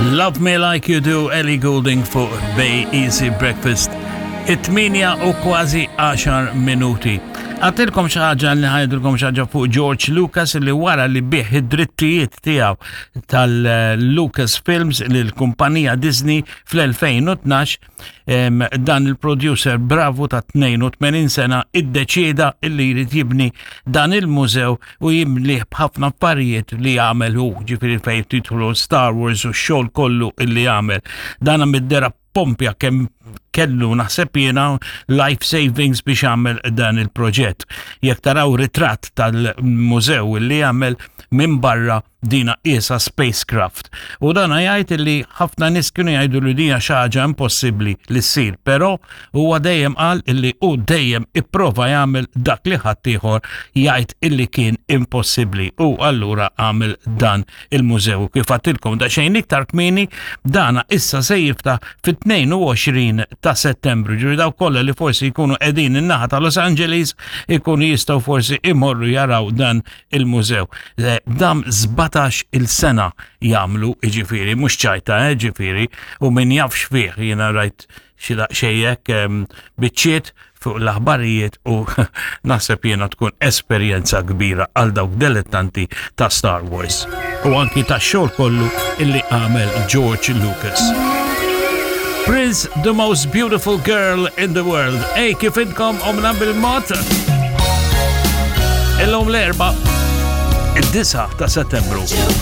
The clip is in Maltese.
Love Me Like You Do, Ellie Goulding fuq Bay Easy Breakfast. It-tminja u kważi 10 minuti. Għatilkom xaħġa li ħajdilkom xaħġa fuq George Lucas li wara li bih id-drittijiet tiegħu tal-Lucas Films lill-kumpanija Disney fl-2012 dan il-producer bravu ta' 82 sena iddeċieda illi jrid jibni dan il-mużew u jimlih b'ħafna affarijiet li għamel hu, ġifieri fejn titlu Star Wars u x-xogħol kollu illi għamel. Dan mid-dera pompja kemm kellu naħseb jiena life savings biex għamel dan il-proġett. Jekk taraw ritratt tal-mużew li għamel minn barra dina qiesha spacecraft. U dana jgħid li ħafna nies kienu jgħidu li dija xi ħaġa impossibbli li ssir, però huwa dejjem qal illi hu dejjem ipprova jagħmel dak li ħaddieħor jgħid illi kien impossibbli u allura għamel dan il-mużew. Kif għattilkom daqsxejn iktar kmieni dana issa se jiftaħ fit-22 ta' Settembru. Ġifieri dawk kollha li forsi jkunu qegħdin in-naħa ta' Los Angeles ikunu jistgħu forsi imorru jaraw dan il-mużew. Eh, dam 17 il-sena jagħmlu ġifieri, mhux ċajta, eh, ġifieri, u min jafx fih jiena rajt xi daqsxejn ehm, biċċiet fuq l-aħbarijiet u naħseb jiena tkun esperjenza kbira għal dawk dilettanti ta' Star Wars u anki ta' xogħol kollu illi għamel George Lucas. Prince, the most beautiful girl in the world. Ej, kif intkom omna bil-mod? Illum l-erba, id-9 ta' settembru.